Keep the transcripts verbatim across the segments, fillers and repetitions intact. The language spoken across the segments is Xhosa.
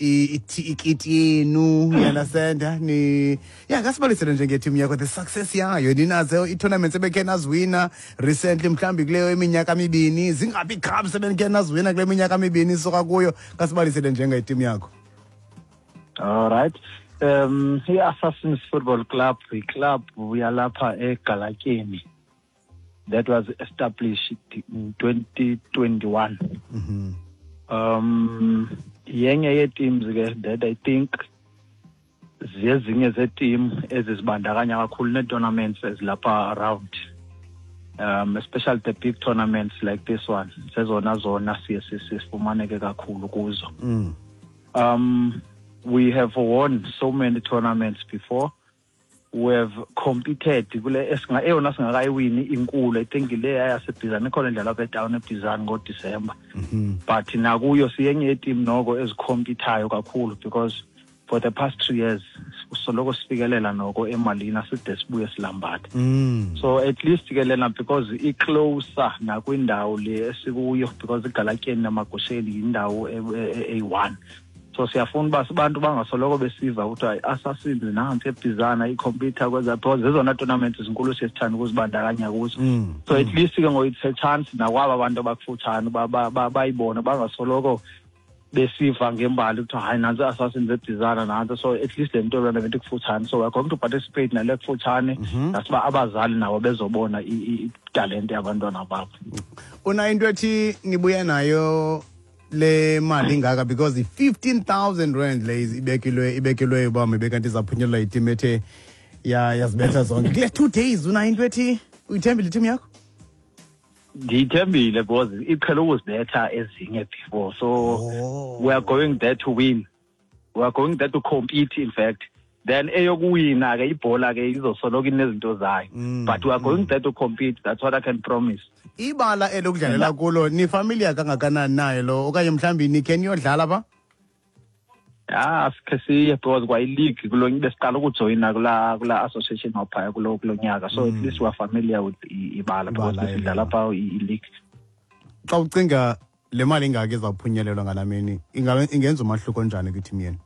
Ikiti yenu, you understand? Ni yeah, kasibalisele nje ngeteam yakho, the success yayo. Ninazo i-tournaments ebekhe naziwina recently, mhlawumbi kuleyo iminyaka mibini, zingaphi ii-cups ebenikhe naziwina kule minyaka mibini isuka kuyo? Kasibalisele njengeteam yakho. All right. Um i-Assassins Football Club, i-club yalapha eGalatyeni that was established in twenty twenty-one. Mhm. Um yenye yee-teams ke that I think zezinye zee-team ezizibandakanya kakhulu nee-tournaments ezilapha around. Um especially the big tournaments like this one. Zezona zona siye sifumaneke kakhulu kuzo. Mm. Um we have won so many tournaments before. We have competed kule esinga eyona singakayiwini inkulu, I think, le yaseBhizana ikhona indlela apha etown eBhizana ngoDisemba. Mhm. But nakuyo siyenye yeteam noko ezikhompithayo kakhulu because for the past three years soloko sifikelela noko emalini, aside sibuye silambatha. Mm. So at least ke lena, because i-closer nakwindawo le esikuyo, because iGalatyeni namaGosheni yindawo eyi-one, so siyafuna uba abantu bangasoloko besiva kuthiwa i-Assassins nantsi eBhizana ikhompyutha kweza, because zezona tournaments zinkulu siye sithanda ukuzibandakanya kuzo. Mm. So at least ke ngoku it's a chance nakwaba bantu abakufutshane uba ba- ba- bayibone, bangasoloko besiva ngembali kuthiwa hayi, nantsi i-Assassins eBhizana nantsi. So at least le nto lona ikufutshane, so we're going to participate nale kufutshane, nasiba abazali nabo bezobona i- i- italente yabantwana babo. Una into ethi nibuya nayo le mali ingaka, because i-fifteen thousand rand le ibekilwe ibekelwe uba mibe kanti izaphunyelwa yiteam ethe ya yazibetha zonke kule two days. Una into ethi uyithembile iteam yakho? Ndiyithembile because iqhele ukuzibetha ezinye before, so Oh. we are going there to win. We are going there to compete, in fact. Then eyokuwina ke ibhola ke izosoloko inezinto zayo, Mm, but we are going there to compete. That's what I can promise. Ibala elokudlalela kulo, nifamiliar kangakanani nayo lo, okanye mhlawumbi nikhe niyodlala pha? Ya, sikhe siye because kwayi-league kulo besiqala ukujoyina kulaa kulaa association waphaya kulo kulo nyaka, so at least we are familiar with i- ibala because Ibala besidlala elo. phaa i- i-league. Xa ucinga le mali ingaka izawuphunyelelwa ngalaa mini, inga- ingenza umahluko njani kwiteam yenu?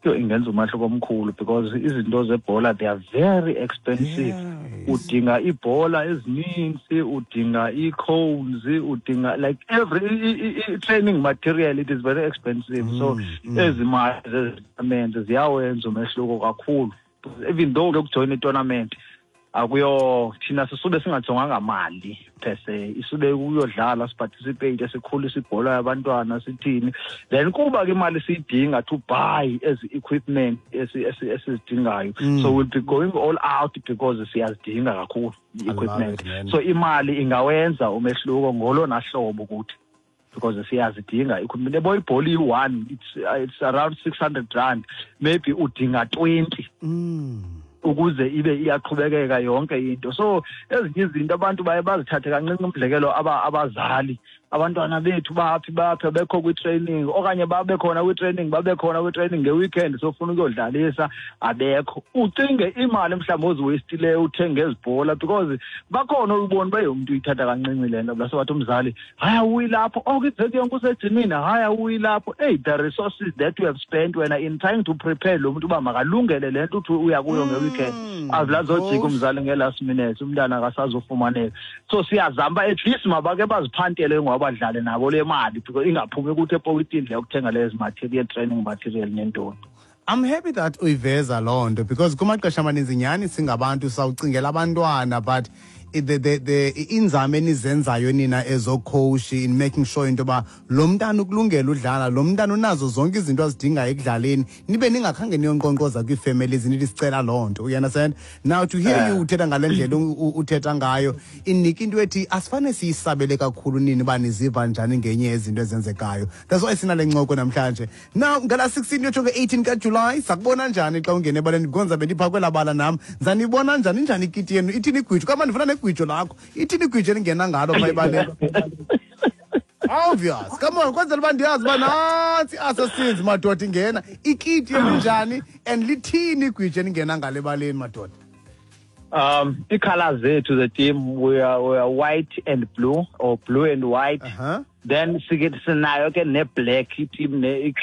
Yho, ingenza umahluko omkhulu because izinto zebhola, they are very expensive. Yes. Udinga iibhola ezininzi, udinga ii-cones, udinga like every i- i- i- training material. It is very expensive, so Mm, ezi mali zezi-tournament ziyawenza umehluko kakhulu. Even though lokujoyina itournament akuyo, thina sisube singajonganga mali per se, isube ukuyodlala, siparticipate, sikhulise ibhola yabantwana, sithini. Then kuba ke imali siyidinga to buy ezi equipment esi- esi- esizidingayo. Mm. So we'll be going all out because siyazidinga kakhulu i-equipment. It, man. So imali ingawenza umehluko ngolona hlobo kuthi because siyazidinga equipment. Yabo, ibhola iyi-one, it's, uh, it's around six hundred rand, maybe udinga twenty Mm. ukuze ibe iyaqhubekeka yonke into. So ezinye izinto abantu baye bazithathe kancinci. Umzekelo, aba abazali, abantwana bethu baphi baphi, abekho kwi-training, okanye babe khona kwi-training, babe khona kwi-training nge-weekend, sofuna ukuyodlalisa abekho. Ucinge imali mhlawumbi oziwastileyo uthenge ezi bhola, because bakhona uyibona uba umntu uyithatha kancinci le nto. Base wathi umzali, "Hayi, awuyi lapho, oko iveki yonke usejimini, hayi, awuyi lapho." Hey, the resources that you have spent wena in trying to prepare lo muntu uba makalungele le nto uthi uya kuyo nge-weekend, Mm, azilazojika coach. Umzali nge-last minute umntana akasazofumaneka. So siyazama uba at least mabake baziphantele ngoba badlale nabo le mali, because ingaphumi kuthi epoketini le yokuthenga lezi material, training material nentoni. I'm happy that uyiveza loo nto, because kumaxesha amaninzi nyhani singabantu sawucingela abantwana, but i- the, the, the inzame enizenzayo nina ezocoach in making sure into yoba lo mntana ukulungela udlala, lo mntana unazo zonke izinto azidingayo ekudlaleni, nibe ningakhange niyonkqonkqoza kwii-families nithi sicela loo nto, you understand? Now to hear you uthetha ngale ndlela u- u- uthetha ngayo, inika into ethi asifane siyisabele kakhulu nini uba niziva njani ngenye yezinto ezenzekayo. That's why sinale ncoko namhlanje. Now ngala sixteen yotsho nge-eighteen kaJulayi, sakubona njani xa ungena ebaleni? Because ndizabe ndiphaa kwelaa bala nam. Ndizanibona njani? Injani ikiti yenu? Ithini igwijo? Kama ndifuna negwijo lakho. Ithini igwijo elingena ngalo phaa ebaleni? Obvious, come on, kwenzela uba ndiyazi uba nantsi i-Assassins, madoda, ingena. Ikiti yenu njani and lithini igwijo elingena ngalo ebaleni, madoda? um ii-colours zethu the team, we are, we are white and blue or blue and white. Uh-huh. Then sike sinayo ke ne-black team ne